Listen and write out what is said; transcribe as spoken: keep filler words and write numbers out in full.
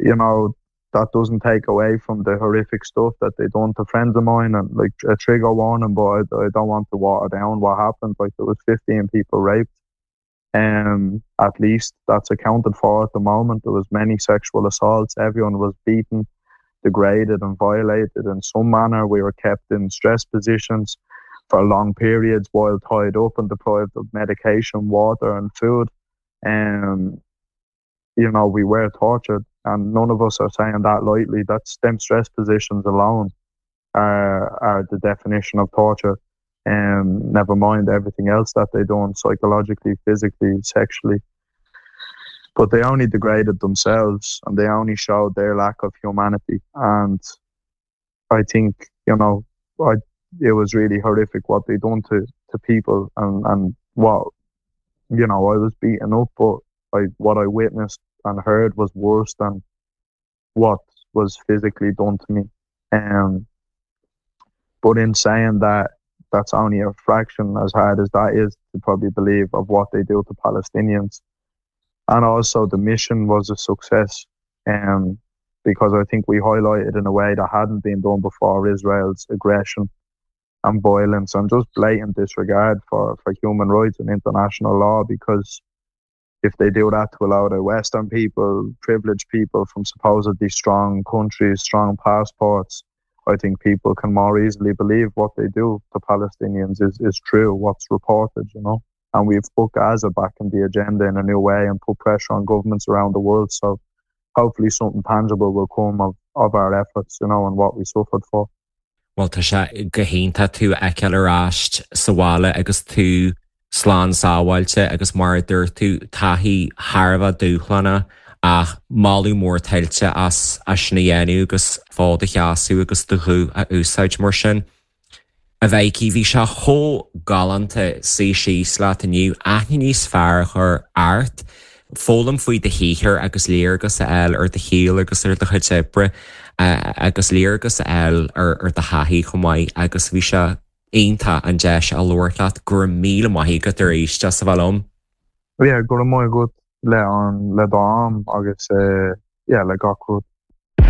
You know, that doesn't take away from the horrific stuff that they done to friends of mine and like a trigger warning, but I, I don't want to water down what happened. Like there was fifteen people raped. Um, at least that's accounted for at the moment. There was many sexual assaults. Everyone was beaten, degraded and violated in some manner. We were kept in stress positions for long periods while tied up and deprived of medication, water and food. Um, you know, we were tortured and none of us are saying that lightly. That's them stress positions alone are, are the definition of torture. Um, never mind everything else that they done psychologically, physically, sexually. But they only degraded themselves and they only showed their lack of humanity. And I think, you know, I, it was really horrific what they done to, to people and, and what, you know, I was beaten up, but I, what I witnessed and heard was worse than what was physically done to me. Um, but in saying that, that's only a fraction, as hard as that is to probably believe, of what they do to Palestinians. And also the mission was a success, um, because I think we highlighted in a way that hadn't been done before Israel's aggression and violence and just blatant disregard for, for human rights and international law, because if they do that to a lot of Western people, privileged people from supposedly strong countries, strong passports, I think people can more easily believe what they do to Palestinians is, is true, what's reported, you know. And we've put Gaza back in the agenda in a new way and put pressure on governments around the world. So hopefully something tangible will come of, of our efforts, you know, and what we suffered for. Well, tá sé go hiontach tú a fheiceáil ar ais sa bhaile agus tú slán sábháilte agus mar a dúirt tú taithí thar a bheith dúshlánach ach moladh mór tuillte as as sin a dhéanamh agus fód a sheasamh agus do ghuth a úsáid mar sin. A Mhikey, bhí sé chomh galánta suí síos leat inniu aithne níos fearr a chur ort, foghlaim faoi do shaothar agus léargas a fháil ar do shaol agus ar do chuid oibre agus léargas a fháil ar ar do thaithí chomh maith agus bhí sé iontach an deis a labhairt leat. Go raibh míle maith agat arís as a bheith liom. Yeah, go raibh maith agat le an le do am agus uh, yeah, le gach rud.